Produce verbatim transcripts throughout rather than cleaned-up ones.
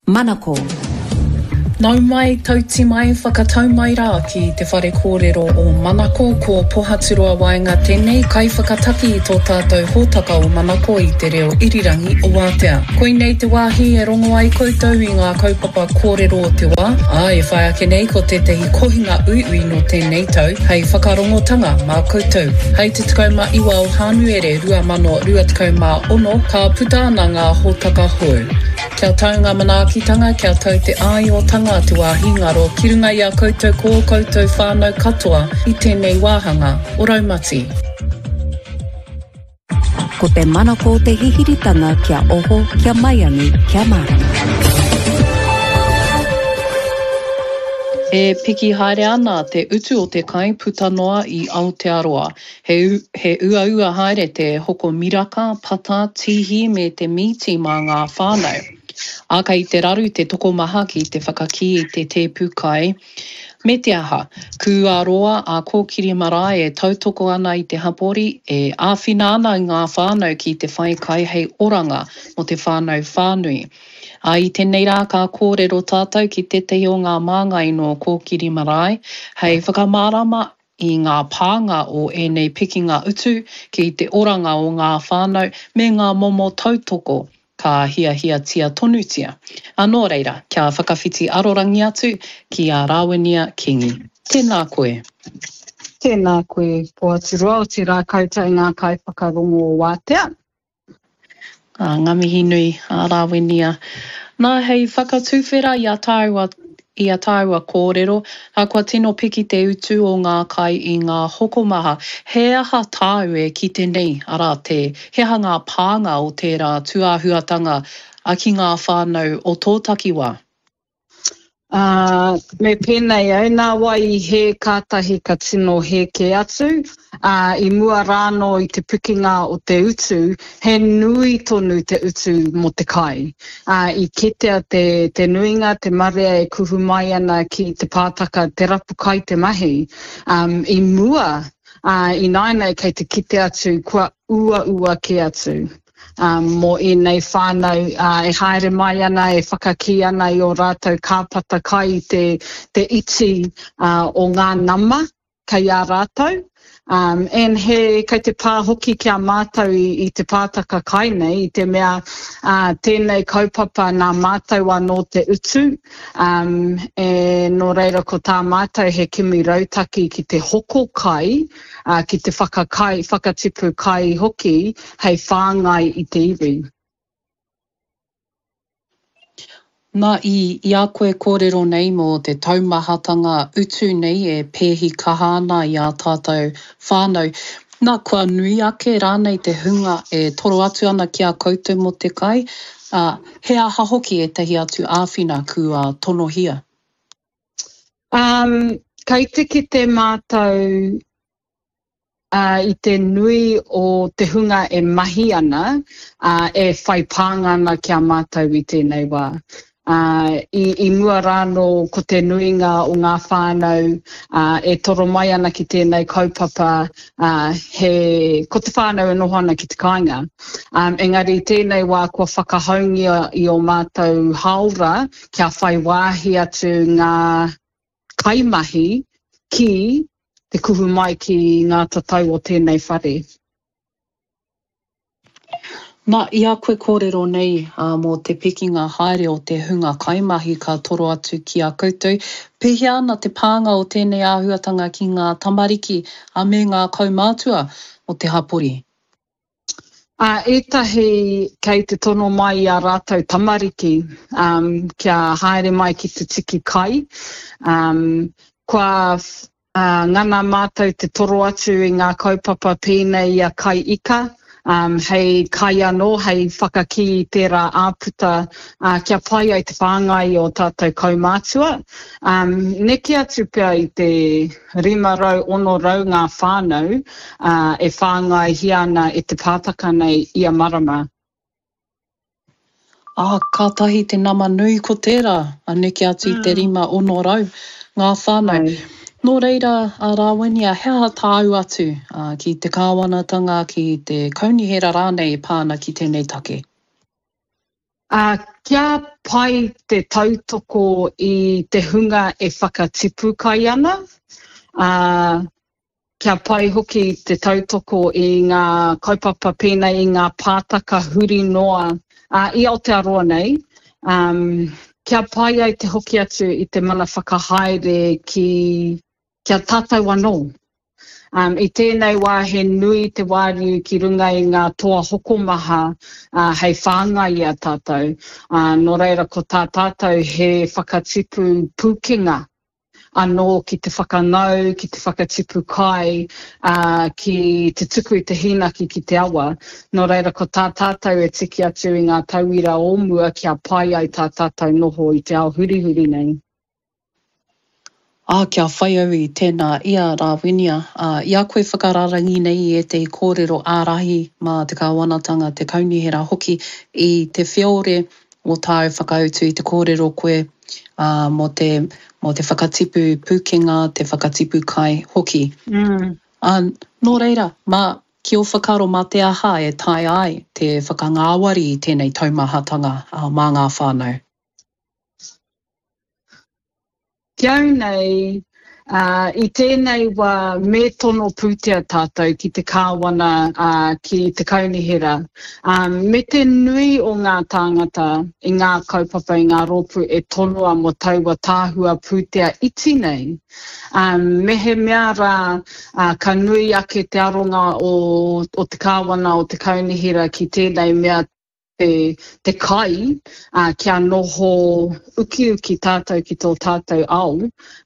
Manako. Nau mai, tauti mai, whakatau mai rā ki te whare kōrero o Manako, ko Pohaturoa Waenga tēnei kaiwhakataki i tō tātou hōtaka o Manako i te reo irirangi o Wātea. Koinei te wāhi e rongo ai koutou i ngā kaupapa kōrero o te wā, ā, e whai ake nei ko tētahi kohinga uiui nō tēnei tau hei whakarongotanga mā koutou. Hei te tekau mā iwa o Hānuere rua mano rua tekau mā ono ka puta ana ngā hōtaka hou. Kia tau ngā manaakitanga, kia tau te āiotanga te wāhi ngaro ki runga i a koutou ko ō koutou whānau katoa i tēnei wāhanga o Raumati. Ko te manako o te hihiritanga kia oho, kia maiangi, kia mārama. E piki haere ana te utu o te kai puta noa i Aotearoa. He, he uaua haere te hoko miraka, pata, tīhi me te mīti mā ngā whānau. Ā, kei te raru te tokomaha ki te whakakī i te tēpu kai. Me te aha, kua roa a Kōkiri Marae e tautoko ana i te hapori, e āwhina ana i ngā whānau ki te whai kai hei oranga mō te whānau whānui. Ā, i tēnei rā ka kōrero tātou ki tētahi o ngā māngai nō Kōkiri Marae hei whakamārama i ngā pānga o ēnei pikinga utu ki te oranga o ngā whānau me ngā momo tautoko ka hiahiatia tonutia. Ā, nō reira, kia whakawhiti arorangi atu ki a Rāwinia Kingi. Tēnā koe. Tēnā koe, Pohaturoa, otirā koutou ngā kaiwhakarongo o Wātea. Ā, ngā mihi nui a Rāwinia. Nā, hei whakatuwhera i a tāua i a tāua kōrero, ā, kua tino piki te utu o ngā kai i ngā hokomaha. He aha tāu e kite nei, arā, te, he aha ngā pānga o tērā tūāhuatanga ki ngā whānau o tō takiwā? Ā, me pēnei au, nā wai i hē kātahi ka tino hē kē atu, ā, i mua rānō i te pikinga o te utu, he nui tonu te utu mō te kai. Ā, i kitea te, te nuinga, te marea e kuhu mai ana ki te pātaka, te rapu kai te mahi. Um, i mua, ā, ināianei kei te kite atu kua uaua kē atu. Um, mō ēnei whānau uh, e haere mai ana, e whakakī ana i ō rātou kāpata kai i te, te iti uh, o ngā nama kei a rātou. Um, and he, kei te pā hoki ki a mātou i, i te pātaka kai nei, i te mea uh, tēnei kaupapa nā mātou anō te utu, um, e, nō reira ko tā mātou he kimi rautaki ki te hoko kai, uh, ki te whakakai, whakatipu kai hoki hei whāngai i te iwi. Nā, i, i a koe kōrero nei mō te taumahatanga utu nei e pēhi kaha ana i ā tātou whānau, nā, kua nui ake rānei te hunga e toro atu ana ki a koutou mō te kai, ā, he aha hoki ētahi atu āwhina kua tonohia? Um, kei te kite mātou uh, i te nui o te hunga e mahi ana, uh, e whai pānga ana ki a mātou i tēnei wā. Uh, i, i mua rānō ko te nuinga o ngā whānau uh, e toro mai ana ki tēnei kaupapa, uh, he, ko te whānau e noho ana ki te kāinga. Um, engari tēnei wā kua whakahaungia i o mātou haora kia whai wāhi atu ngā kaimahi ki te kuhu mai ki ngā tatau o tēnei whare. Nā, i a koe kōrero nei uh, mō te pikinga haere o te hunga kaimahi ka toro atu ki a koutou, pēhea ana te pānga o tēnei āhuatanga ki ngā tamariki a me ngā kaumātua o te hapori? Uh, ētahi kei te tono mai i a rātou tamariki um, kia haere mai ki te tiki kai. Um, kua uh, ngana mātou te toro atu i ngā kaupapa pēnei i a kai ika, um, hei kai anō, hei whakakī i tērā āputa uh, kia pai ai te whāngai o tātou kaumātua. Um, neke atu pea i te rima rau, ono rau ngā whānau uh, e whāngaihia ana e te pātaka nei ia marama. Ā, kātahi te nama nui ko tērā, a neke atu i te rima ono rau ngā whānau. Ai. Nō reira, a Rāwinia, he aha tāu atu uh, ki te kāwanatanga, ki te kaunihera rānei e pā ana ki tēnei take? Ā, kia pai te tautoko i te hunga e whakatipu kai ana, ā, kia pai hoki te tautoko i ngā kaupapa pēnei i ngā pātaka huri noa, ā, i Aotearoa nei, ā, kia pai ai te hoki atu i te mana whakahaere ki, ki a tātou anō. Um, I tēnei wā he nui te wāriu ki runga i ngā toa hokomaha uh, hei whāngai i a tātou. Uh, nō reira ko tā tātou he whakatipu pūkenga anō ki te whakangau, ki te whakatipu kai, uh, ki te tuku i te hīnaki ki te awa. Nō reira ko tā tātou e tiki atu i ngā tauira o mua kia pai ai tā tātou noho i te ao hurihuri nei. Ā, kia whai au i tēnā i a Rāwinia, ā, i a koe whakararangi nei i ētehi kōrero ārahi mā te kāwanatanga, te kaunihera hoki, i te whiore o tāu whakautu i te kōrero koe, ā, mō te, mō te whakatipu pūkenga, te whakatipu kai hoki. Mm. Ā, nō reira, mā, ki ō whakaaro mā te aha e taea ai te whakangāwari i tēnei taumahatanga, ā, mā ngā whānau? Ki au nei, ā, i tēnei wā me tono pūtea tātou ki te kāwana, ā, ki te kaunihera, ā, me te nui o ngā tāngata i ngā kaupapa, i ngā rōpū e tonoa mō taua tahua pūtea iti nei. Ā, mehemea rā, ā, ka nui ake te aronga o, o te kāwana, o te kaunihera ki tēnei mea te, te kai, ā, kia noho ukiuki tātou ki tō tātou ao,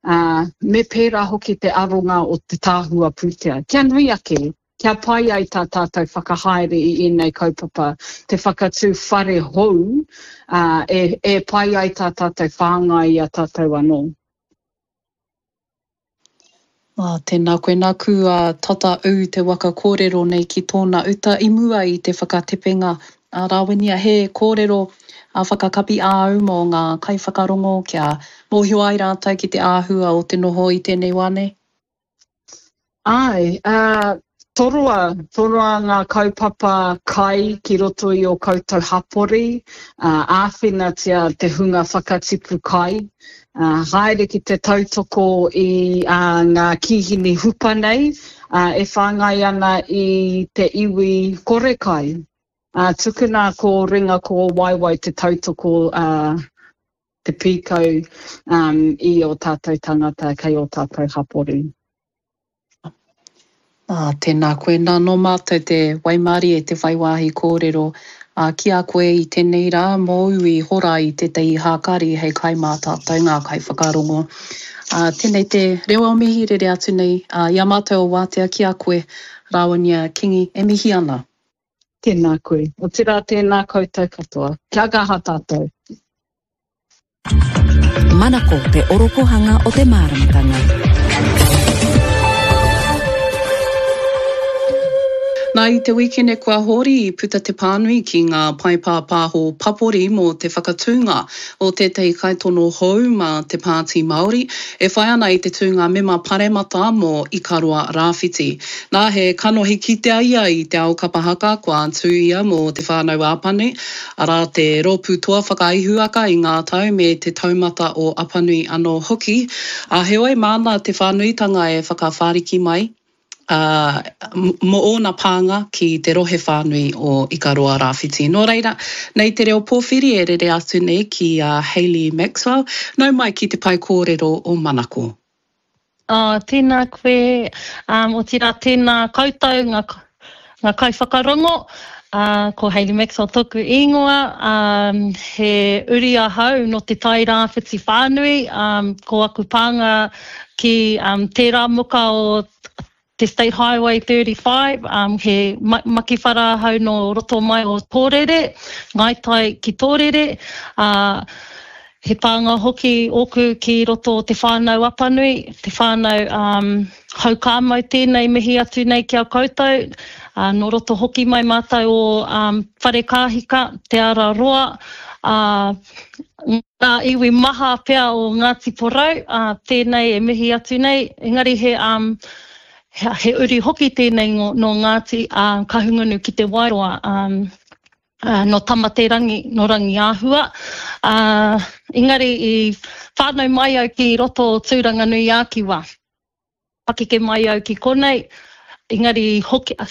ā, me pērā hoki te aronga o te tahua pūtea. Kia nui ake, kia pai ai tā tātou whakahaere i ēnei kaupapa, te whakatū whare hou, ā, e, e pai ai tā tātou whāngai i a tātou anō. Ā, tēnā koe, nāku a tata ū te waka kōrero nei ki tōna uta i mua i te whakatepenga. Ā, Rāwinia, he kōrero a whakakapi āu mō ngā kaiwhakarongo kia mōhio ai rātou ki te āhua o te noho i tēnei wā nei? Āe, ā, toroa, toroa ngā kaupapa kai ki roto i ō koutou hapori, ā, āwhinatia te hunga whakatipu kai, ā, haere ki te tautoko i ā, ngā kīhini hupa nei, ā, e whāngai ana i te iwi kore kai. Ā, tukuna ko ringa ko waewae te tautoko, ā, te pīkau, um, i ō tātou tangata kei ō tātou hapori. Ā, tēnā koe. Nā, nō mātou te waimarie te whai wāhi kōrero, ā, ki a koe i tēnei rā, mōu i hora i tētahi hākari hei kai mā tātou ngā kaiwhakarongo. Ā, tēnei te reo o mihi rere atu nei, ā, i a mātou o Wātea ki a koe, Rāwinia Kingi, e mihi ana. Tēnā koe. Otirā tēnā koutou katoa. Kia kaha tātou. Manako te orokohanga o te māramatanga. Nā, i te wikene kua hori i puta te pānui ki ngā pae pāpāho papori mō te whakatūnga o tētahi kaitono hou mā te Pāti Māori e whai ana i te tūnga mema paremata mō Ikaroa Rāwhiti. Nā, he kanohi kitea ia i te ao kapa haka kua tū ia mō Te Whānau Apanui, arā te rōpū toa whakaihuwaka i ngā tau me te taumata o Apanui anō hoki, ā, heoi māna te whānuitanga e whakawhāriki mai, ā, mō ōna pānga ki te rohe whānui o Ikaroa Rāwhiti. Nō reira, nei te reo pōwhiri e rere atu nei ki a Hayley Maxwell, nau mai ki te pae kōrero o Manako. Oh, tēnā koe, um, otirā tēnā koutou ngā, ngā kaiwhakarongo. Uh, ko Hayley Maxwell tōku ingoa, um, he uri ahau nō te Tai Rāwhiti whānui, um, ko aku pānga ki um, tērā muka o te State Highway thirty-five, um, he makiwhara ahau nō roto mai o Tōrere, Ngāi Tai ki Tōrere, uh, he pānga hoki ōku ki roto o Te Whānau Apanui, te whānau um, Haukāmau tēnei mihi atu nei ki a koutou, uh, nō roto hoki mai mātou o um, Wharekāhika, Te Ara Roa, uh, ngā iwi maha pea o Ngāti Porou, uh, tēnei e mihi atu nei, engari he, um, he, he uri hoki tēnei nō Ngāti uh, Kahungunu ki Te Wairoa. Um, Uh, no Tamaterangi, no Rangiāhua. Uh, engari i whānau mai au ki roto o Tūranganui-ā-Kiwa. Pakeke mai au ki konei, engari hoki, uh,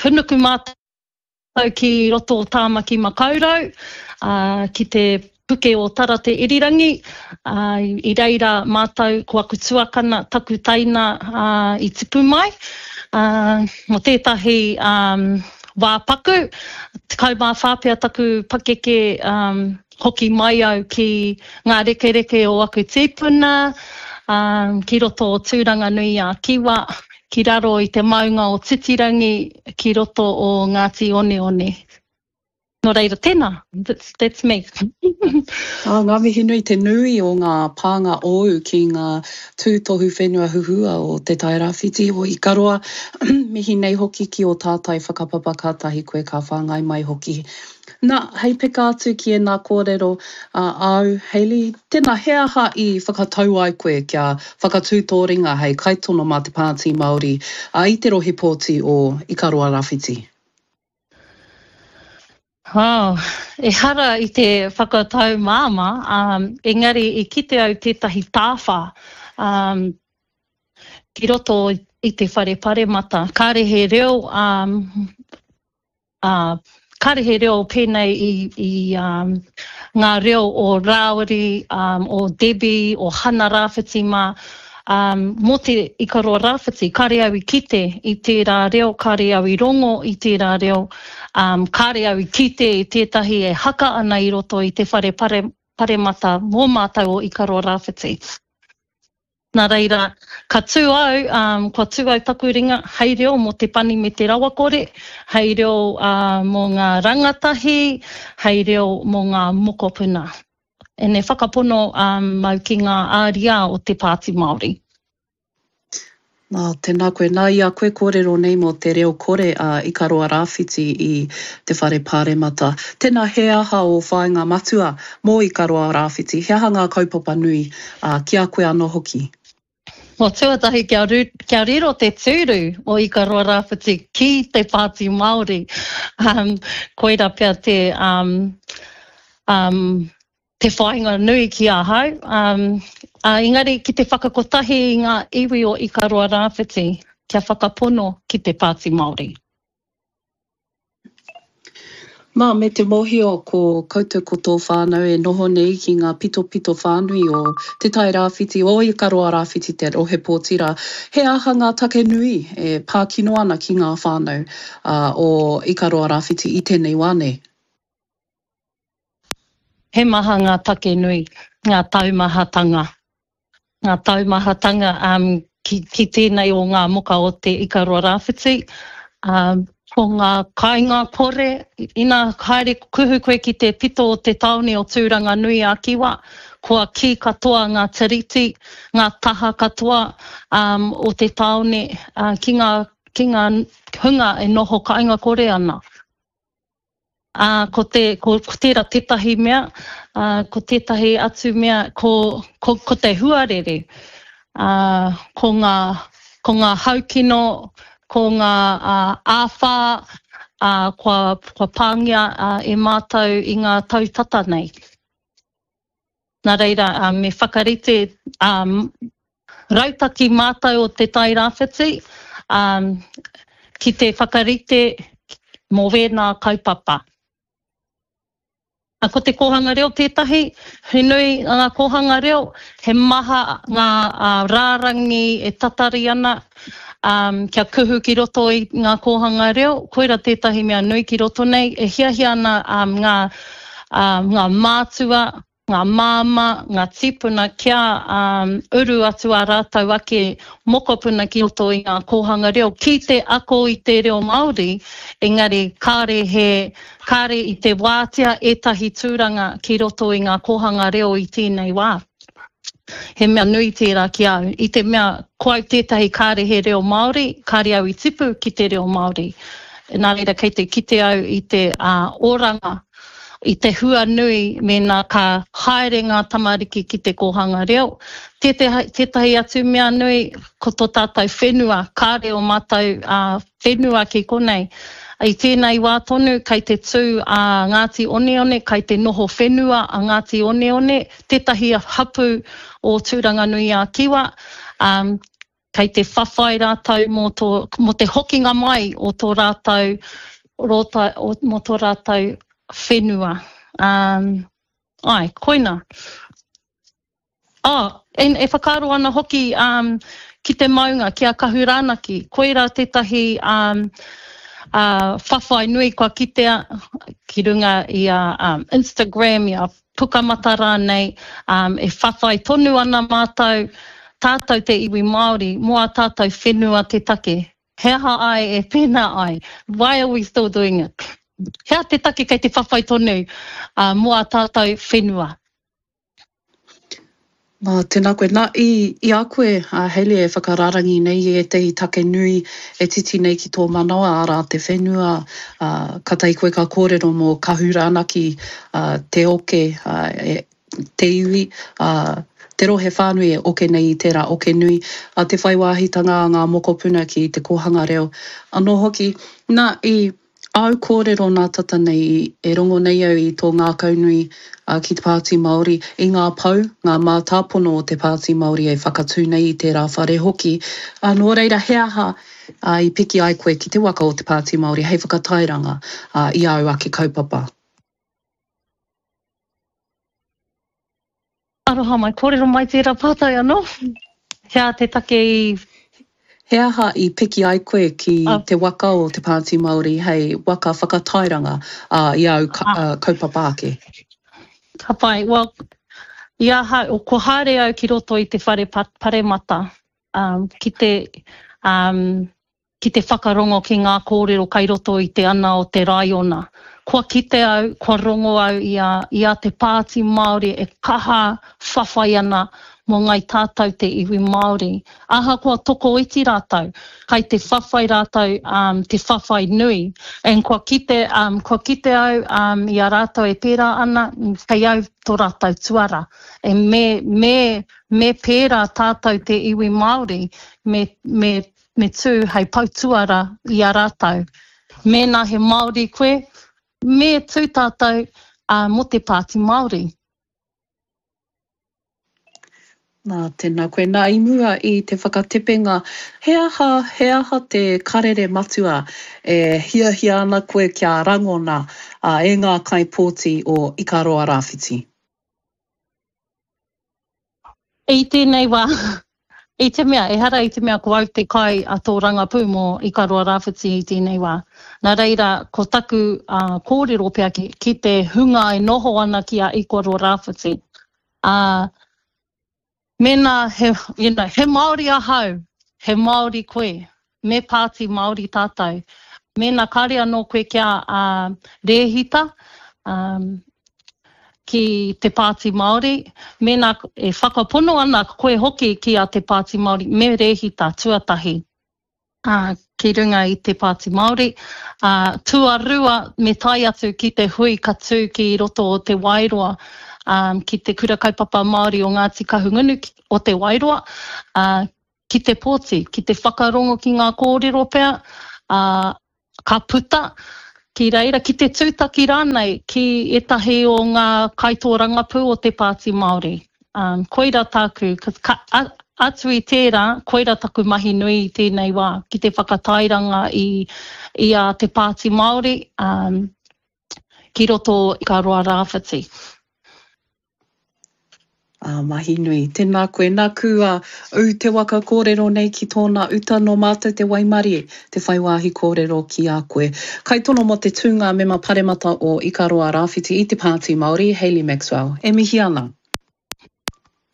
hunuku mātou ki roto o Tāmaki Makaurau, uh, ki te puke o Tara Te Irirangi, uh, i reira mātou ko aku tuakana, taku taina uh, i tipu mai. Uh, mo tētahi um, wā paku, tekau mā whā pea taku pakeke um, hoki mai au ki ngā rekereke o aku tīpuna, um, ki roto o Tūranganui-ā-Kiwa, ki raro i te maunga o Titirangi, ki roto o Ngāti Oneone. Nō reira, tēnā, that's, that's me. Ah, ngā mihi nui te nui o ngā pānga ōu ki ngā tūtohu whenua huhua o Te Tairāwhiti o Ikaroa. Mihi nei hoki ki o tātai whakapapa kātahi koe ka whāngai mai hoki. Nā, hei peka atu ki ēnā kōrero uh, āu, Hayley, tēnā he aha i whakatau ai koe kia whakatū tō ringa hei kaitono mā te Pāti Māori uh, i te rohe pōti o Ikaroa Rāwhiti? Oh, ehara i te whakatau māmā, um, engari i kite au tētahi tāwhā um, ki roto i te whare paremata. Kāre he reo, um, uh, kāre he reo pēnei i, i um, ngā reo o Rāwiri, um, o Debbie, o Hana Rāwhiti mā, um, mō te Ikaroa Rāwhiti, kāre au i kite i tērā reo, kāre au i rongo i tērā reo, um, kāre au i kite i tētahi e haka ana i roto i te whare pare, paremata mō mātou o Ikaroa Rāwhiti. Nā reira, ka tū au, um, kua tū au taku ringa, hei reo mō te pani me te rawakore, hei reo uh, mō ngā rangatahi, hei reo mō ngā mokopuna. Ene whakapono um, mau ki ngā āriā o te Pāti Māori. Nā, tēnā koe. Nā, i a koe kōrero nei mō te reo kore a Ikaroa Rāwhiti i te whare pāremata. Tēnā, he aha o whāinga matua mō Ikaroa Rāwhiti? He aha ngā kaupapa nui uh, ki a koe anō hoki? Mo tuatahi kia, ru, kia riro te tūru o Ikaroa Rāwhiti ki te Pāti Māori. Um, koira pea te, um, um, te whāinga nui ki ahau. Um, uh, engari ki te whakakotahi i ngā iwi o Ikaroa Rāwhiti kia whakapono ki te Pāti Māori. Nā, me te mōhio ko koutou ko tō whānau e noho nei ki ngā pitopito whānui o Te Tairāwhiti, o Ikaroa Rāwhiti te rohe pōti rā. He aha ngā take nui e pākino ana ki ngā whānau uh, o Ikaroa Rāwhiti i tēnei wā nei? He maha ngā take nui, ngā taumahatanga. Ngā taumahatanga um, ki, ki tēnei o ngā moka o te Ikaroa Rāwhiti. Um, ko ngā kāinga kore, ina haere kuhu koe ki te pito o te tāone o Tūranganui-a-Kiwa, kua kī katoa ngā tiriti, ngā taha katoa um, o te tāone uh, ki ngā, ki ngā hunga e noho kāinga kore ana. Uh, ko, te, ko, ko tērā tētahi mea, uh, ko tētahi atu mea, ko, ko, ko te huarere, uh, ko ngā, ko ngā haukino, ko ngā uh, āwhā, uh, kua, kua pāngia uh, e mātou i ngā tau tata nei. Nā reira, uh, me whakarite um, rautaki mātou o te Tairāwhiti um, ki te whakarite mō wēnā kaupapa. Ko te kōhanga reo tētahi, he nui ngā kōhanga reo, he maha ngā uh, rārangi e tatari ana um, kia kuhu ki roto i ngā kōhanga reo, koira tētahi mea nui ki roto nei, e hiahia ana um, ngā, um, ngā mātua, ngā māma, ngā tīpuna kia um, uru atu a rātou ake mokopuna ki roto i ngā kōhanga reo, ki te ako i te reo Māori, engari kāre, he, kāre i te wātea ētahi tūranga ki roto i ngā kōhanga reo i tēnei wā. He mea nui tērā ki au. I te mea ko au tētahi kāre he reo Māori, kāre au i tipu ki te reo Māori. Nā reira kei te kite au i te uh, oranga, i te hua nui mēnā ka haere ngā tamariki ki te kōhanga reo. Tētahi, tētahi atu mea nui, ko tō tātou whenua, kāre o mātou uh, whenua ki konei. I tēnei wā tonu, kei te tū a Ngāti Oneone, kei te noho whenua a Ngāti Oneone, tētahi hapū o Tūranganui-a-Kiwa, um, kei te whawhai rātou mō, tō, mō te hokinga mai o tō rātou, rota, o, mō tō rātou whenua. Um, ai, koina. Oh, and e whakaaro ana hoki um, ki te maunga, ki a Kahuranaki. Koirā tētahi um, uh, whawhai nui kua kitea ki runga i a um, Instagram, i a Pukamata rānei, um, e whawhai tonu ana mātou, tātou te iwi Māori, mō a tātou whenua te take. He aha ai e pēnā ai? Why are we still doing it? He aha te take kei te whawhai tonu uh, mō a tātou whenua? Nā, tēnā koe. Nā, i, i a koe, a Hayley, e whakarārangi nei i ētahi take nui e titi nei ki tō manawa, arā, te whenua, ā, kātahi koe ka kōrero mō Kahuranaki, ā, te oke, ā, e, te iwi, ā, te rohe whānui e oke nei i tērā oke nui, ā, te whai wāhitanga a ngā mokopuna ki te kōhanga reo anō hoki. Nā, i. Āu kōrero nā tata nei e rongo nei au i tō ngākaunui ki te Pāti Māori, i ngā pou, ngā mātāpono o te Pāti Māori e whakatū nei i tērā whare hoki. Nō reira, he aha i piki ai koe ki te waka o te Pāti Māori hei whakatairanga i āu ake kaupapa? Aroha mai, kōrero mai tērā pātai anō. He aha te take i... He aha i piki ai koe ki te waka o Te Pāti Māori hei waka whakatairanga i āu kaupapa ake? Ka pai. Well, i ahau, kua haere au ki roto i te whare paremata ki te, ki te whakarongo ki ngā kōrero kai roto i te ana o te raiona. Kua kite au, kua rongo au i a, i a Te Pāti Māori e kaha whawhai ana mō ngai tātou te iwi Māori. Ahakoa tokoiti rātou, kai te whawhai rātou um, te whawhai nui. And kua kite, um, kua kite au um, i a rātou e pērā ana, kei au tō rātou tuara. And me, me, me pērā tātou te iwi Māori, me, me me tū hei poutuara i a rātou. Mēnā he Māori koe, me tū tātou mō te Pāti Māori. Nā, tēnā koe. Nā, i mua i te whakatepenga, he aha, he aha te karere matua e hiahia ana koe kia rangona e ngā kaipōti o Ikaroa Rāwhiti? I tēnei wā, i te mea, ehara i te mea ko au te kai a tōrangapū mō Ikaroa Rāwhiti i tēnei wā. Nā reira, ko taku uh, kōrero pea ki, ki te hunga e noho ana ki a Ikaroa Rāwhiti. Uh, mēnā he, you know, he Māori ahau, he Māori koe, me pāti Māori tātou. Mēnā kāre anō koe kia uh, rēhita, um, ki te Pāti Māori, mēnā e whakapono ana koe hoki ki a te Pāti Māori, me rēhita tuatahi uh, ki runga i te Pāti Māori. Uh, tuarua, me tae atu ki te hui ka tū ki roto o Te Wairoa, um, ki te Kura Kaupapa Māori o Ngāti Kahungunu o Te Wairoa, uh, ki te pōti, ki te whakarongo ki ngā kōrero pea, uh, ka puta ki reira, ki te tūtaki rānei ki ētahi o ngā kaitōrangapū o te Pāti Māori. Um, koira tāku, ka, a, atu i tērā, koira taku mahi nui i tēnei wā, ki te whakatairanga i, i a te Pāti Māori um, ki roto i Ikaroa Rāwhiti. Ā, mahi nui. Tēnā koe. Nāku a ū te waka kōrero nei ki tōna uta nō mātou te waimarie te whai wāhi kōrero ki a koe. Kaitono mō te tūnga mema paremata o Ikaroa Rāwhiti i te Pāti Māori, Hayley Maxwell. E mihi ana.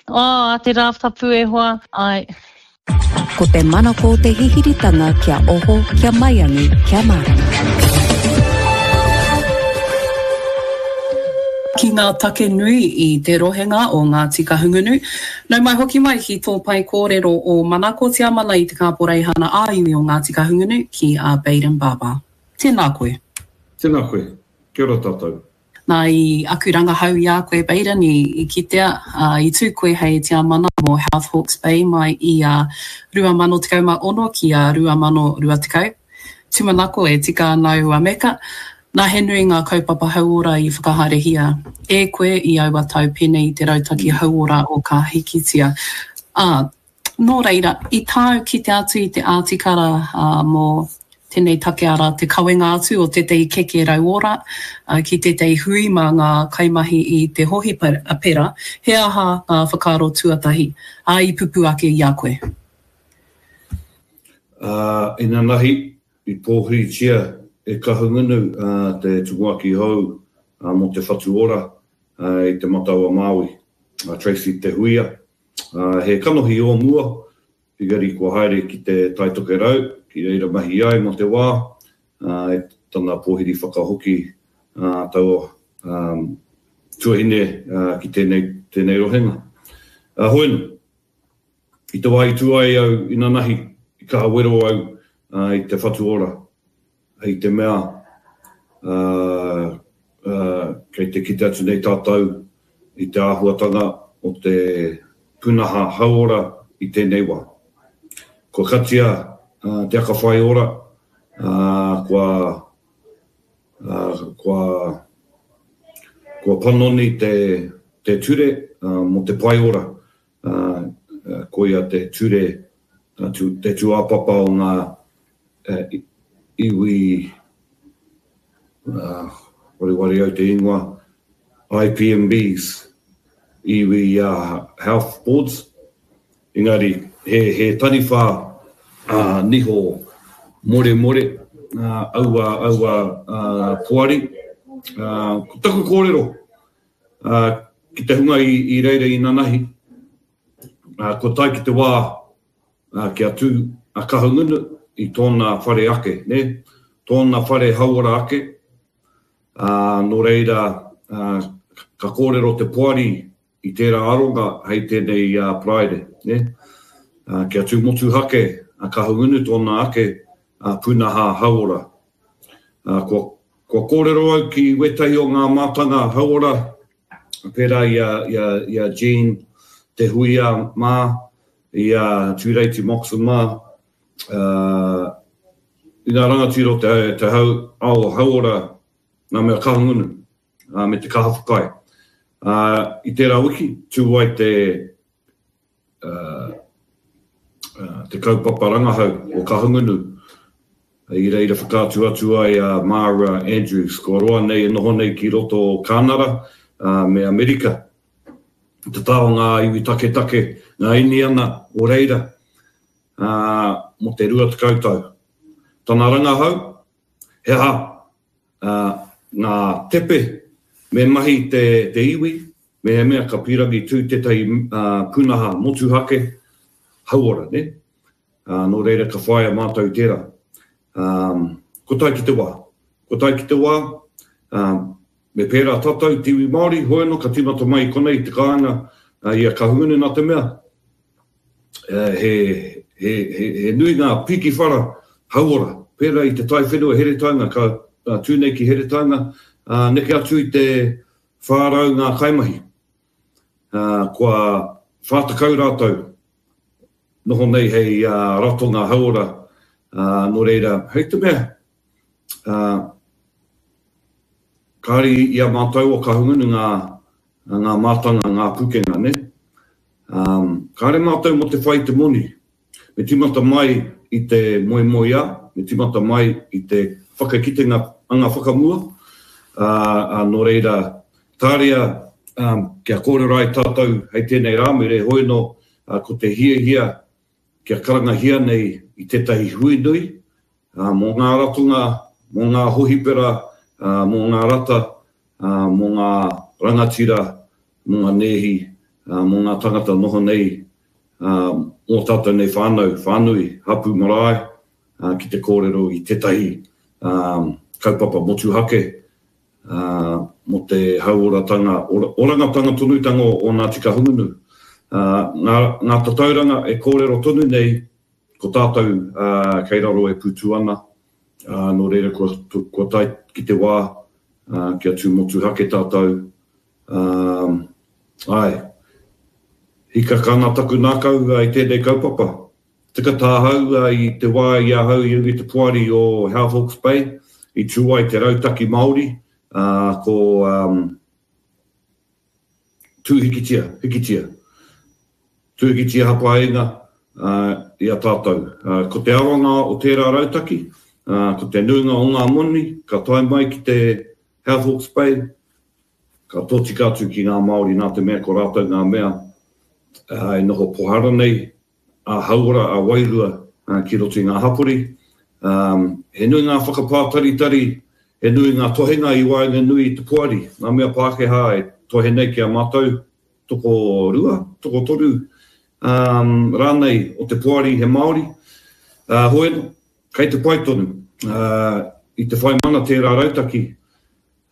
Oh, a te rā tapu e hoa. Ai. Ko te manako o te hihiritanga kia oho, kia maiangi, kia mārama. Ki ngā take nui i te rohenga o Ngāti Kahungunu. Nau mai hoki mai ki tō pae kōrero o Manako Tiamana i te Kāporeihana ā-Iwi o Ngāti Kahungunu ki a Bayden Barber. Tēnā koe. Tēnā koe. Kia ora tātou. Nā, i aku rangahau i a koe, Bayden, i, i kitea, ā, i tū koe hei tiamana mō Health Hawke's Bay mai i a rua mano tekau mā ono ki a rua mano rua tekau. Tūmanako e tika ana aua meka. Nā, he nui ngā kaupapa hauora i whakahaerehia e koe i aua tau pēnei i te rautaki hauora o Ka Hikitia. Ā, nō reira, i tāu kite atu i te ātikara mō tēnei take arā te kawenga atu o tētahi keke rauora ki tētahi hui mā ngā kaimahi i te hohipera, he aha ngā whakaaro tuatahi, ā, i pupū ake i a koe? Ā, inanahi, i pōhiritia e Kahungunu te tumuaki hou mō Te Whatu Ora i Te Matau-a-Māui, a Tracey Te Huia. He kanohi o mua, engari kua haere ki te Tai Tokerau, ki reira mahi ai mō te wā, e tana pōhiri whakahoki taua tuahine ki tēnei rohenga. Hoeno, i te wā i tū ai au inanahi, i kaha wero au i te Whatu Ora, i te mea kei te kite atu nei tātou i te āhuatanga o te pūnaha hauora i tēnei wā. Kua katia te aka whai ora, kua, kua, kua panoni te, te ture mō te pae ora, koia te ture, te tūāpapa o ngā iwi, wareware au te ingoa, I P M Bs, iwi Health Boards, engari he, he taniwha uh, niho moremore, uh, aua, aua uh, poari. Uh, ko taku kōrero uh, ki te hunga i, i reira i nanahi, uh, ko tae ki te wā uh, kia tū a Kahungunu i tōna whare ake, ne? Tōna whare hauora ake. Uh, nō reira, uh, ka kōrero te poari i tērā aronga hei tēnei uh, Paraire, ne? Uh, kia tū motuhake a Kahungunu tōna ake uh, pūnaha hauora. Uh, kua, kua kōrero au ki wētahi o ngā mātanga hauora, pērā i a, i a, i a Jean Te Huia mā, i a Tūreiti Moxon mā, uh, i ngā rangatira o te, te hau, ao hauora ngā mea Kahungunu, uh, me te kaha whakaae. Uh, i tērā wiki, tū ai te, uh, uh, te kaupapa rangahau o Kahungunu, i reira whakaatu atu ai a Mara Andrews, kua roa nei e noho nei ki roto o Kānara uh, me Amerika. Te tā o ngā iwi taketake, ngā Iniana o reira, uh, mō te rua tekau tau. Tana rangahau, he aha uh, ngā tepe me mahi te, te iwi, me he mea ka pīrangi tū tētahi uh, pūnaha motuhake hauora, ne? Uh, nō reira ka whaia mātou tērā. Um, ko tae ki te wā. Ko tae ki te wā, um, me pērā tātou te iwi Māori, hoeno ka tīmata mai i konei te kāinga uh, i a Kahungunu nā te mea. Uh, he, he, he, he nui ngā piki whara hauora, pērā i te taiwhenua Heretaunga, ka uh, tū nei ki Heretaunga, uh, neke atu i te whārau ngā kaimahi. Uh, kua whātekau rātou noho nei hei uh, ratonga hauora, uh, nō reira, hei te mea, uh, kāri i a mātou o Kahungunu ngā, ngā mātanga, ngā pūkenga, ne? Um, kāre mātou mō te whai te moni. Me tīmata mai i te moemoeā, me tīmata mai i te whakakitenga anga whakamua, uh, uh, nō reira, tāria um, kia kōrero ai tātou hei tēnei rāmere, hoeno uh, ko te hiahia kia karangahia nei i tētahi hui nui, uh, mō ngā ratonga, mō ngā hohipera, uh, mō ngā rata, uh, mō ngā rangatira, mō ngā nēhi, uh, mō ngā tangata noho nei, uh, mō tātou nei whānau, whānui, hapu marae, uh, ki te kōrero i tētahi um, kaupapa motuhake, uh, mō te hauoratanga, ora, orangatanga tonutanga o, o Ngāti Kahungunu. Uh, ngā, ngā tatauranga e kōrero tonu nei, ko tātou uh, kei raro e pūtu ana, uh, nō reira kua, kua tae ki te wā, uh, kia tū motuhake tātou. Um, ai, hikaka ana taku nākau uh, i tēnei kaupapa. Tika tāhau uh, i te wā i ahau i runga i te poari o Health Hawke's Bay, i tū ai te rautaki Māori, uh, ko um, Tū Hikitia, Hikitia. Tū Hikitia Hapaenga uh, i a tātou. Uh, ko te aronga o tērā rautaki, uh, ko te nuinga o ngā moni, ka tae mai ki te Health Hawke's Bay, ka tōtika atu ki ngā Māori nā te mea ko rātou ngā mea uh, e noho pohara nei, a hauora, a wairua uh, ki roto i ngā hapori. Um, he nui ngā whakapātaritari, he nui ngā tohenga i waenganui i te poari. Ngā mea Pākehā e tohe nei ki a mātou, toko rua, toko toru, um, rānei o te poari he Māori. Uh, hoi, kei te pai tonu. Uh, i te whai mana tērā rautaki,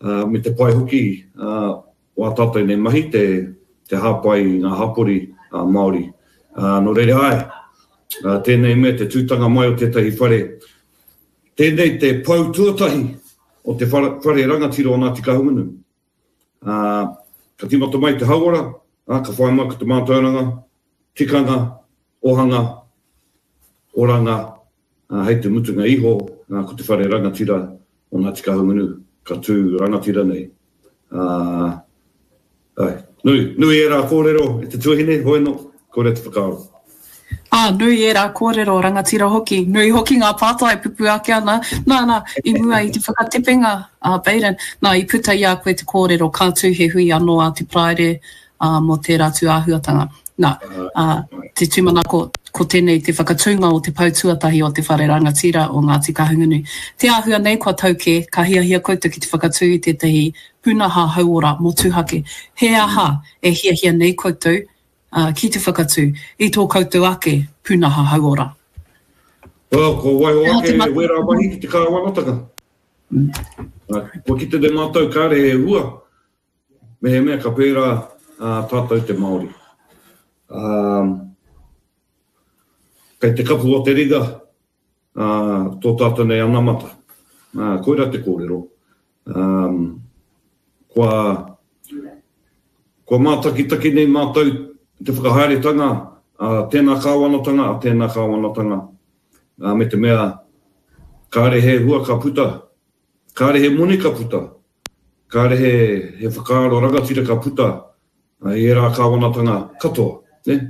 uh, me te pai hoki uh, o a tātou nei mahi te, te hāpai i ngā hapori uh, Māori. Uh, nō reira ai, uh, tēnei mea te tūtanga mai o tētahi whare. Tēnei te pou tuatahi o te whare, whare rangatira o Ngāti Kahungunu. Uh, ka tīmata mai te hauora, uh, ka whai mai ko te mātauranga, tikanga, ohanga, oranga, uh, hei te mutunga iho, uh, ko te whare rangatira o Ngāti Kahungunu, ka tū rangatira nei. Uh, ai, nui, nui ērā kōrero e te tuahine, hoi no, kore te whakaaro. Ah, nui ērā kōrero, rangatira hoki. Nui hoki ngā pātai pupu ake ana. Nā, nā, i mua i te whakatepenga a uh, Baden, nā, i puta i a koe te kōrero, ka tū he hui anō a te Paraire uh, mō tērā tū āhuatanga. Nā, uh, te tūmanako, ko tēnei te whakatūnga o te pou tuatahi o te whare rangatira o Ngāti Kahungunu. Te āhua nei kua tau kē, ka hiahia koutou ki te whakatū i tētahi pūnaha hauora motuhake. He aha e hiahia nei koutou uh, ki te whakatū i tō koutou ake pūnaha hauora? Well, ko waiho ake wērā mahi ki te kāwanatanga. Mm. Uh, kua kite te mātou kāre he hua, me he mea ka pērā uh, tātou te Māori. Um, kei te kapu o te ringa uh, tō tātou nei anamata. Uh, koira te kōrero. Um, kua, kua mātakitaki nei mātou te whakahaeretanga a tēnā kāwanatanga, a tēnā kāwanatanga, uh, me te mea kāre he hua ka puta, kāre he moni ka puta, kāre he, he whakaaro rangatira ka puta uh, i ērā kāwanatanga katoa. Ne?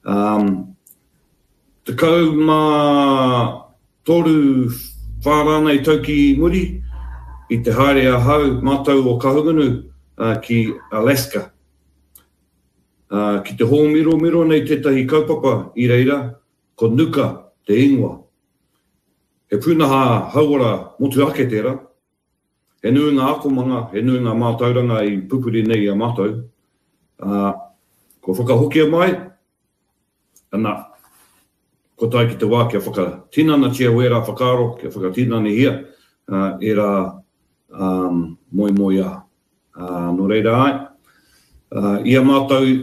Um, tekau mā toru whā rānei tau ki muri, i te haere ahau mātou o Kahungunu uh, ki Alaska. Uh, ki te hōmiromiro nei tētahi kaupapa i reira, ko Nuka te ingoa. He pūnaha hauora motuhake tērā. He nui ngā akomanga, he nui ngā mātauranga i pupuri nei i a mātou. Uh, ko whakahokia mai, ana, ko tae ki te wā kia whakatinanatia wērā whakaaro, kia whakatinanihia uh, ērā um, moemoeā. Uh, nō reira ai, uh, i a mātou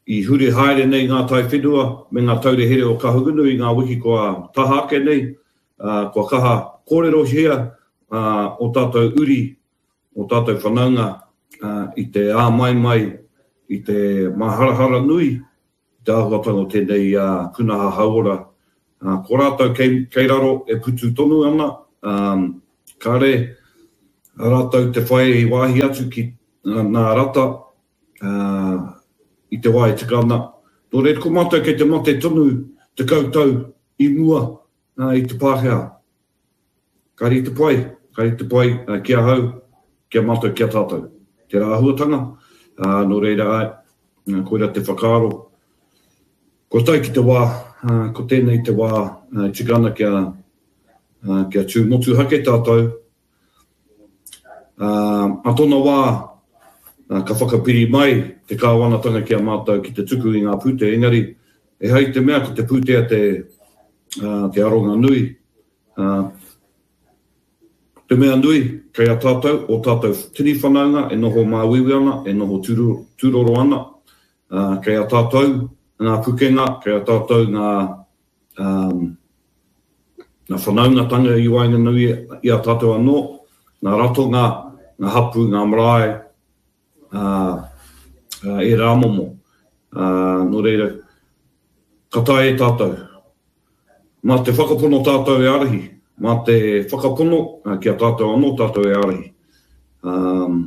i huri haere nei ngā tai whenua me ngā taure here o Kahungunu i ngā wiki kua taha ake nei, uh, kua kaha kōrerohia uh, o tātou uri, o tātou whanaunga uh, i te āmaimai, i te maharahara nui, i te āhuatanga o tēnei uh, pūnaha hauora. Uh, ko rātou kei, kei raro e putu tonu ana, um, kāre rātou te whai i wāhi atu ki uh, nā rata, uh, i te wā e tika ana. Nō reira, ko mātou kei te mate tonu te kautau i mua uh, i te Pākehā. Kāre i te pai, kāre i te pai uh, ki ahau, ki a mātou, ki a tātou. Te rāhuatanga, uh, nō reira ai, uh, koira te whakaaro. Ko tae ki te wā, uh, ko tēnei te wā uh, tika ana kia, uh, kia tū motuhake tātou. Uh, a tōna wā, uh, ka whakapiri mai te kāwanatanga ki a mātou ki te tuku i ngā pūtea. Engari, e hai te mea ko te pūtea te, uh, te aronga nui. Uh, te mea nui, kei a tātou, o tātou tini whanaunga e noho māuiui ana, e noho tūroro, tūroro ana. Uh, kei a tātou ngā pukenga, kei a tātou ngā, um, ngā whanaungatanga i waenganui i a tātou anō, ngā ratonga, ngā hapu, ngā marae, uh, uh, e rā momo. Uh, nō reira, ka tae e tātou. Mā te whakapono tātou e ārahi, mā te whakapono ki a tātou anō tātou e ārahi. Um,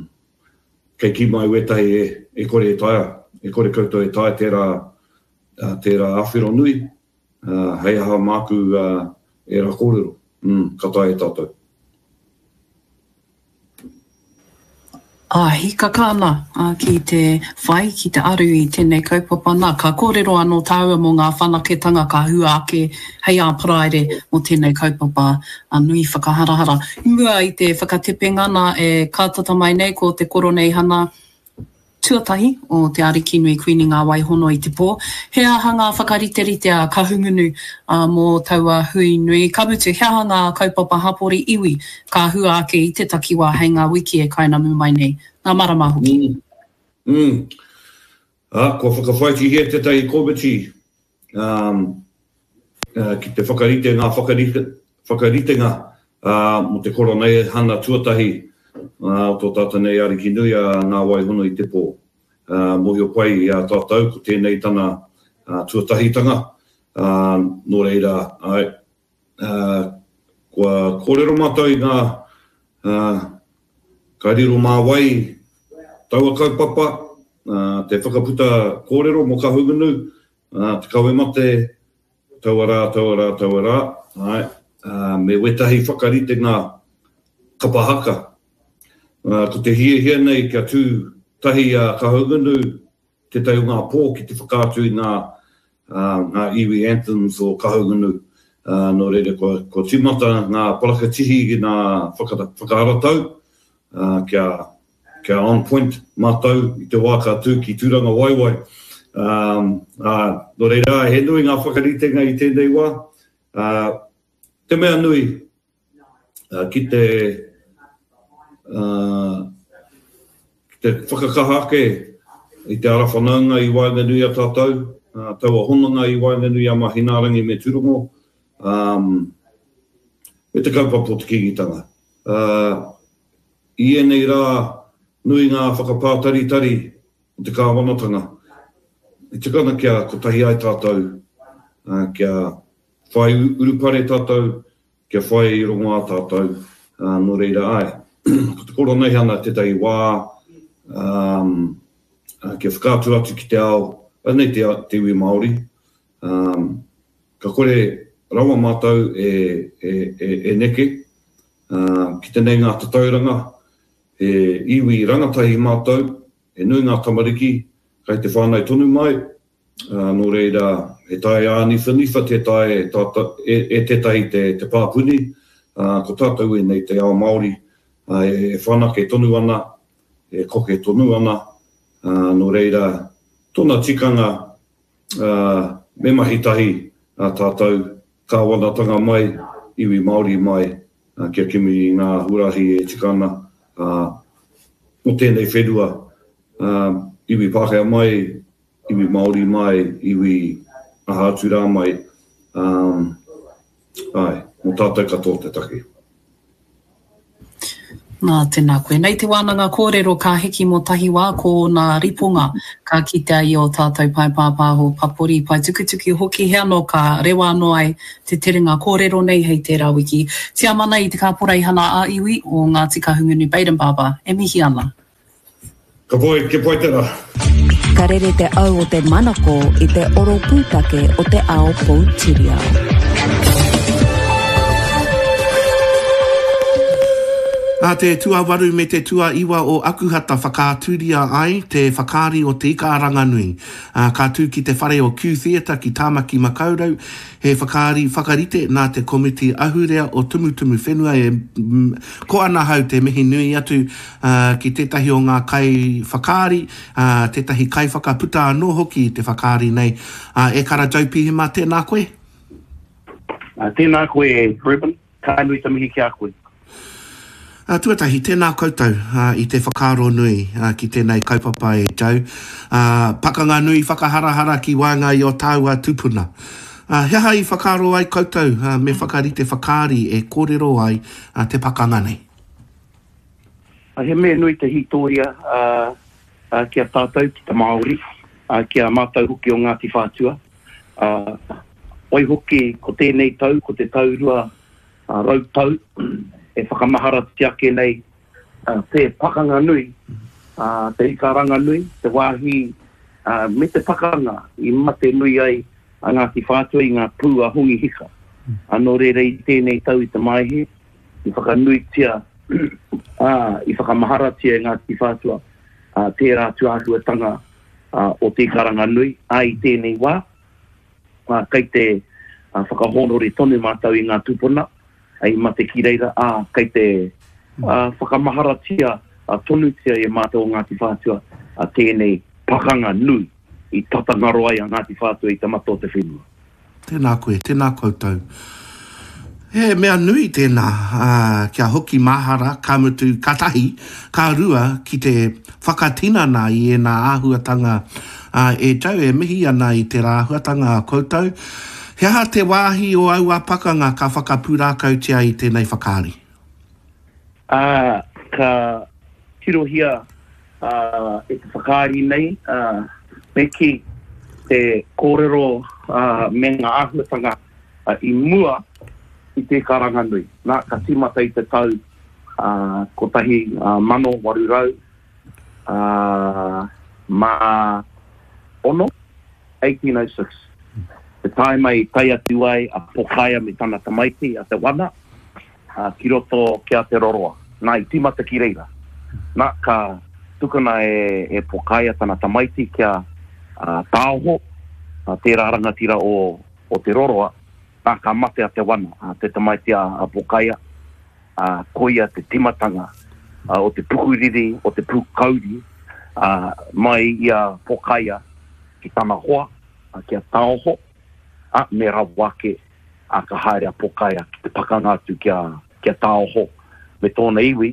kei kī mai wētahi e, e kore e taea, e kore koutou e taea tērā, tērā āwhero nui, uh, hei aha māku uh, ērā kōrero, mm, ka taea e tātou. Ā, hīkaka ana ki te whai, ki te aru i tēnei kaupapa nā. Ka kōrero anō tāua mō ngā whanaketanga ka hua ake hei ā Paraire mō tēnei kaupapa nui whakaharahara. I mua i te whakatepenga nā e kātata mai nei ko te Koroneihana tuatahi o Te Arikinui Kuini Ngā Waihono i te pō. He aha ngā whakariterite a Kahungunu mō taua hui nui? Ka mutu, he aha ngā kaupapa hapori iwi ka hua ake i te takiwā hei ngā wiki e kainamu mai nei, ngā marama hoki? Mm. Mm. Ah, kua whakawhaitihia tētahi komiti um, uh, ki te whakarite ngā whakarite, whakaritenga uh, mō te koroneihana tuatahi uh, o tō tātou nei Arikinui a Ngā Waihono i te pō. Uh, mōhio pai i a tātou, ko tēnei tana uh, tuatahitanga. Uh, nō reira, ai, uh, kua kōrero mātou i ngā uh, ka riro mā wai taua kaupapa, uh, te whakaputa kōrero mō Kahungunu, uh, te kawe mate, taua rā, taua rā, taua rā, ai, uh, me wetahi whakaritenga kapa haka. Uh, ko te hiahia nei kia tū tahi a Kahungunu, tētahi o ngā pō ki te whakaatu i ngā, uh, ngā iwi anthems o Kahungunu. Uh, nō reira, kua, kua tīmata ngā parakatihi ki ngā whaka, whakaharatau, uh, kia, kia on point mātou i te wā ka tū ki Tūranga Waiwai. Um, uh, nō reira, he nui ngā whakaritenga i tēnei wā. Uh, te mea nui, uh, ki te Uh, ki te whakakaha ake i te ara whanaunga i waenganui a tātou, uh, taua hononga i waenganui a Mahinaarangi me Tūrongo, um, me te kaupapa o te Kīngitanga. Uh, I ēnei rā, nui ngā whakapātaritari o te kāwanatanga. I tikana kia kotahi ai tātou, uh, kia whai urupare tātou, kia whai rongoā tātou, uh, nō reira ai. Ko te koroneihana tētahi wā, um, kia whakaatu atu ki te ao, anei te, te iwi Māori, um, ka kore rawa mātou e, e, e, e neke, uh, ki te nei ngā tatauranga, e iwi rangatahi mātou, e nui ngā tamariki, kai te whānau tonu mai, uh, nō reira, he tae āniwhaniwha te tae e, tata, e, e tētahi te, te pāpuni, uh, ko tātou e nei te ao Māori, uh, e whanake tonu ana, e koke tonu ana, uh, nō reira, tōna tikanga uh, me mahi tahi uh, tātou kāwanatanga mai, iwi Māori mai, uh, kia kimi i ngā huarahi e tika ana, uh, mō tēnei whenua, uh, iwi Pākehā mai, iwi Māori mai, iwi aha atu rā mai, um, ai, mō tātou katoa te take. Nā, tēnā koe. Nei te wānanga kōrero ka hiki mō tahi wā ko nā riponga ka kitea i o tātou pae pāpāho papori, pae tukutuki hoki he anō ka rewa anō ai te terenga kōrero nei hei tērā wiki. Tiamana i te kāporeihana a iwi o Ngāti Kahungunu Bayden Barber e mihi ana. Ka pai, kia pai tērā. Ka rere te au o te manako i te oro pūtake o te ao poutiriao. Nā te tuawaru me te tuaiwa o Akuhata whakaaturia ai te whakaari o te ika aranganui. Ka tū ki te whare o Q Theatre ki Tāmaki Makaurau, he whakaari whakarite nā te komiti ahurea o Tumutumu Whenua e ko ana hau te mihi nui atu ki tētahi o ngā kai whakaari, tētahi kai whakaputa anō hoki te whakaari nei. E kara Joe Pihima, tēnā koe? Tēnā koe, Ruben. Ka nui te mihi ki a koe. Uh, tuatahi, tēnā koutou uh, i te whakaaro nui uh, ki tēnei kaupapa e Joe. Uh, pakanga nui whakaharahara ki waenga i o tāua tupuna. Uh, he aha i whakaaro ai koutou uh, me whakarite whakaari e kōrero ai uh, te pakanga nei? He mea nui te hītoria uh, uh, ki a tātou, ki te Māori, uh, ki a mātou hoki o Ngāti Whātua. Uh, Waihoki, ko tēnei tau, ko te tau rua rau tau, e whakamaharatia ake nei te pakanga nui, te ikaranga nui, te wāhi me te pakanga i mate nui ai a Ngāti Whātua i ngā pū a Hongi Hika. Nō reira i tēnei tau i te Maehe, i whakanuitia, i whakamaharatia e Ngāti Whātua tērā tūāhuatanga o te ikaranga nui, ā i tēnei wā, kei te whakahōnore tonu mātou i ngā tūpuna, i mate ki reira, ā, kei te whakamaharatia tonutia e mātou o Ngāti Whātua tēnei pakanga nui i tata ngaro ai a Ngāti Whātua i te mata o te whenua. Tēnā koe, tēnā koutou. He mea nui tēnā, ā, kia hoki mahara, ka mutu, ka tahi, ka rua ki te whakatinana i ēnā āhuatanga, ā, e tau e mihi ana i tērā āhuatanga a koutou. He aha te wāhi o aua pakanga ka whakapūrākautia i tēnei whakaari? Ā, ka tirohia, ā, e te whakaari nei, ā, me kī, te kōrero, ā, me ngā āhuatanga, ā, i mua i te karanga nui. Nā, ka tīmata i te tau, ā, kotahi, ā, mano waru rau, ā, mā ono, eighteen oh six. Te taima i tae atu ai a Pokaia me tana tamaiti, a Te Wana, ā, ki roto ki a Te Roroa. Nā, i tīmata ki reira. Nā, ka tukuna e, e Pokaia tana tamaiti kia, ā, tāoho, ā, tērā rangatira o, o Te Roroa. Nā, ka mate a Te Wana, a, te tamaiti a, a Pokaia, ā, koia te timatanga, ā, o te pukuriri, o te pūkauri, ā, mai i a Pokaia ki tana hoa, ā, kia tāoho, ā, me rawa ake, ā, ka haere a Pokaia ki te pakanga atu kia, kia tāoho me tōna iwi,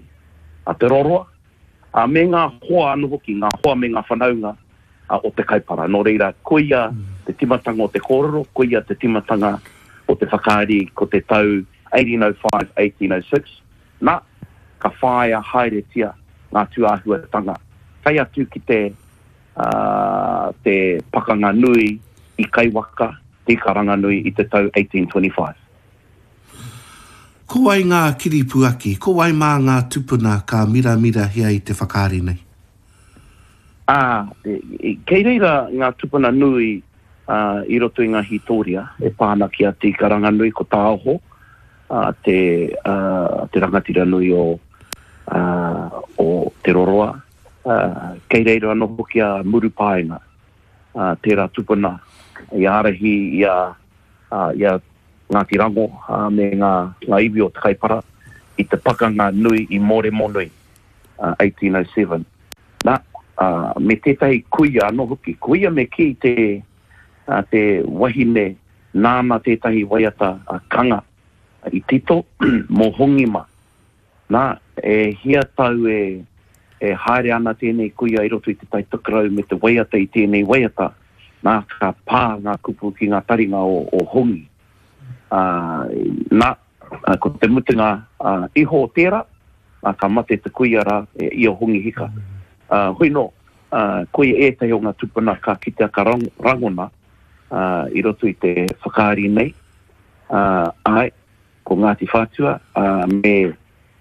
a Te Roroa, ā, me ngā hoa anō hoki, ngā hoa me ngā whanaunga, ā, o te kaipara. Nō reira, koia te timatanga o te kōrero, koia te timatanga o te whakaari ko te tau eighteen oh five, eighteen oh six. Nā, ka whāia haeretia ngā tūāhuatanga. Kai atu ki te, ā, te pakanga nui i Kaiwaka, te ikaranga nui i te tau eighteen twenty-five. Ko wai ngā kiripuaki, ko wai mā ngā tupuna ka miramirahia i te whakaari nei? Ā, e, e, kei reira ngā tupuna nui, ā, i roto i ngā hītoria e pā ana ki a Te Ikaranganui, ko Tāoho, ā, te, ā, te rangatira nui o, ā, o Te Roroa. Ā, kei reira anō hoki a Murupaenga, ā, tērā tupuna i ārahi i a, ā, i a Ngāti Rango, ā, me ngā, ngā iwi o Te Kaipara i te pakanga nui i Mōremonui, ā, eighteen oh seven. Nā, ā, me tētahi kuia anō hoki. Kuia me kī te, ā, te wahine nāna tētahi waiata, ā, kanga i tito mō Hongima. Nā, e hia tau e, e haere ana tēnei kuia i roto i te Tai Tokerau me te waiata i tēnei waiata. Nā, ka pā ngā kupu ki ngā taringa o, o Hongi. Ā, nā, ā, ko te mutunga, ā, iho o tērā, ā, ka mate te kuia rā e, i o Hongi Hika. Ā, hoi nō, ā, koia ētahi o ngā tupuna ka kitea ka rang-, rangona, ā, i roto i te whakaari nei. Ā, ai, ko Ngāti Whātua, ā, me,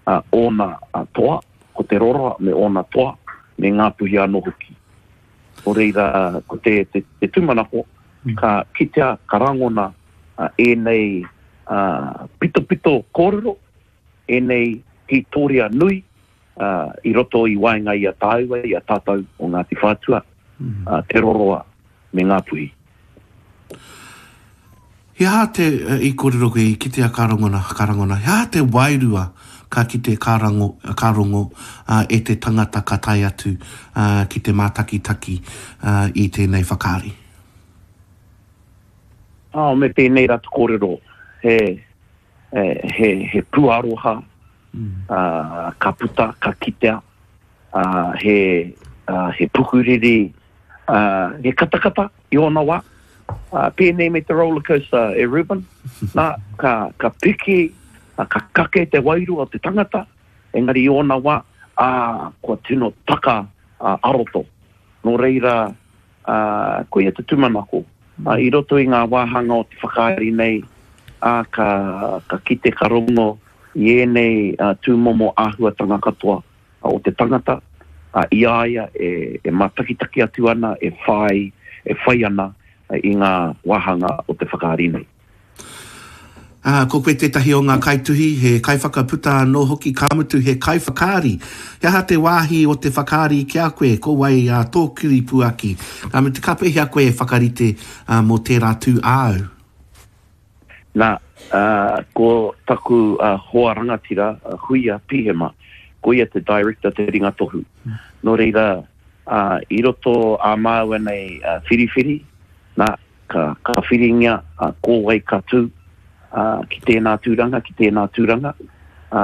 ā, ōna, ā, toa, ko Te Roroa me ōna toa, me Ngāpuhi anō hoki. Nō reira, ko te, te, te tūmanako, ka kitea, ka rangona, ā, ēnei, ā, pitopito kōrero, ēnei hītoria nui, ā, i roto i waenga i a tāua, i a tātou o Ngāti Whātua, ā, Te Roroa me Ngāpuhi. He aha te, i kōrero koe, i kitea ka rangona, ka rangona, he aha te wairua ka kite ka rango, ka rongo, ā, e te tangata ka tae atu, ā, ki te mātakitaki, ā, i tēnei whakaari? Ā, me tēnei rā te kōrero, he, he, he, he pūaroha, ā, ka puta, ka kitea, ā, he, ā, he pukuriri, ā, he katakata i ōna wā. Ā, pēnei me te roller coaster e Ruben, nā, ka, ka piki, ā, ka kake te wairua o te tangata, engari i ōna wā, ā, kua tino taka, ā, aroto. Nō reira, ā, koia te tūmanako, Uh, I roto i ngā wāhanga o te whakaari nei, ā, ka, ka kite, ka rongo i ēnei uh, tūmomo āhuatanga katoa o te tangata, uh, i a ia e, e mātakitaki atu ana, e whai, e whai ana i ngā wāhanga o te whakaari nei. Ā, ko koe tētahi o ngā kaituhi, he kaiwhakaputa anō hoki, ka mutu he kaiwhakaari. He aha te wāhi o te whakaari ki a koe? Ko wai ā, tō kiripuaki? Ka mutu, ka pēhea koe e whakarite ā, mō tērā tū āu? Nā, ā, ko taku ā, hoa rangatira, a Huia Pihema, ko ia te director, te ringa tohu. Nō reira, ā, i roto ā māua nei ā, whiriwhiri, nā, ka, ka whiringia ā, ko wai ka tū, ā, ki tēnā tūranga, ki tēnā tūranga, ā,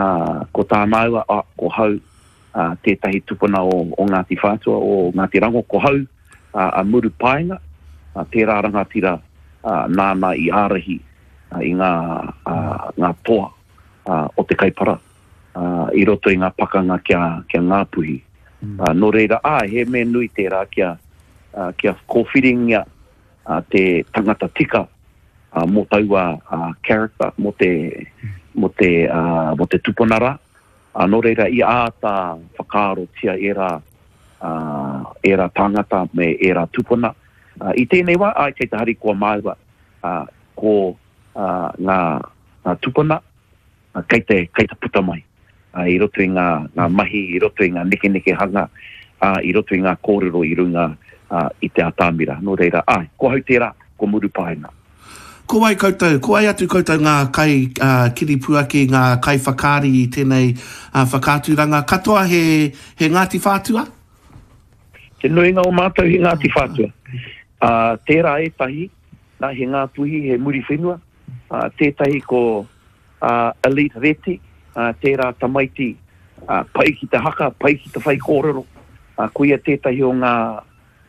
ko tā māua, ā, ko hau, ā, tētahi tupuna o, o Ngāti Whātua, o Ngāti Rango, ko hau, ā, a Murupaenga, ā, tērā rangatira, ā, nāna i ārahi, ā, i ngā, ā, ngā toa, ā, o te Kaipara, ā, i roto i ngā pakanga ki a, ki a Ngāpuhi. Ā, nō reira, āe, he mea nui tērā kia, ā, kia kōwhiringia, ā, te tangata tika, ā, mō taua, ā, character, mō te, mō te, ā, mō te tupuna rā. Ā, nō reira, i āta whakaarotia ērā, ā, ērā tāngata me ērā tupuna. Ā, i tēnei wā, āe, kei te harikoa māua, ā, ko, ā, ngā, ngā tupuna, ā, kei te, kei te puta mai, ā, i roto i ngā, ngā mahi, i roto i ngā nekenekehanga, ā, i roto i ngā kōrero i runga, ā, i te atamira. Nō reira, āe, ko ahau tērā, ko Murupaenga. Ko wai koutou, ko wai atu koutou ngā kai, ā, kiripuaki, ngā kaiwhakaari i tēnei, ā, whakaaturanga? Katoa he, he Ngāti Whātua? Te nuinga o mātou he Ngāti Whātua. Ā, tērā ētahi, nā, he Ngāpuhi, he Muriwhenua, ā, tētahi ko, ā, Elite Reti, ā, tērā tamaiti, ā, pai ki te haka, pai ki te whaikōrero, ā, koia tētahi o ngā,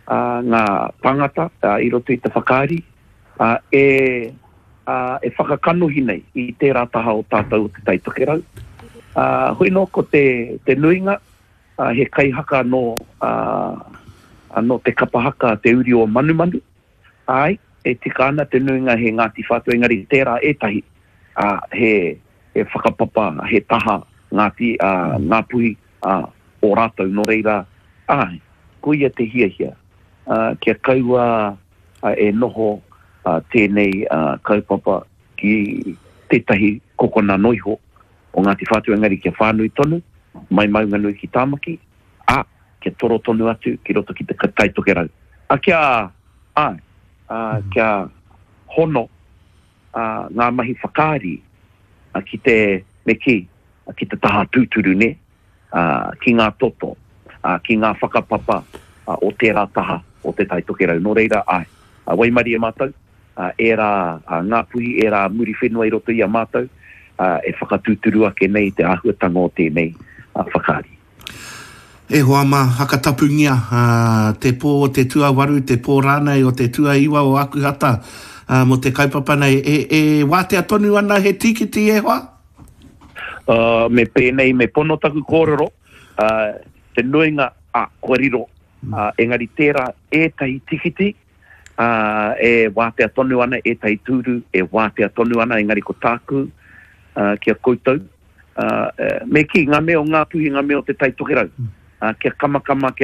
ā, ngā tāngata, ā, i roto i te whakaari, ā, e, ā, e whakakanohi nei i tērā taha o tātou o Te Tai Tokerau. Ā, hoi nō ko te, te nuinga, ā, he kaihaka nō, ā, nō te kapa haka Te Uri o Manumanu. Āe, e tika ana te nuinga he Ngāti Whātua, engari tērā ētahi, ā, he, he whakapapa, he taha Ngāti, ā, Ngāpuhi, ā, o rātou, nō reira, āe, koia te hiahia, ā, kia kaua e noho tēnei kaupapa ki tētahi kokona noiho o Ngāti Whātua, engari kia whānui tonu, mai Maunganui ki Tāmaki, ā, kia toro tonu atu ki roto ki te Tai Tokerau. Ā, kia, āe, ā, kia hono ngā mahi whakaari ki te, me kī, ki te taha tūturu, nē, ki ngā toto, ki ngā whakapapa o tērā taha o Te Tai Tokerau. Nō reira, āe, waimarie mātou, ērā Ngāpuhi, ērā Muriwhenua i roto i a mātou, e whakatūturu ake nei te āhuatanga o tēnei whakaari. E hoa mā, hakatapungia te pō o te tuawaru, te pō rānei o te tuaiwa o Akuhata mō te kaupapa nei. E, e wātea tonu ana he tīkiti e hoa? Uh, me pēnei, me pono taku kōrero, uh, te nuinga, ah, kua riro, uh, engari tērā ētahi tikiti, uh, e wātea tonu ana, ētahi tūru e wātea tonu ana, engari ko tāku, uh, ki a koutou, uh, me kī, ngā mea o Ngāpuhi, ngā mea o Te Tai Tokerau, uh, kia kamakama, kia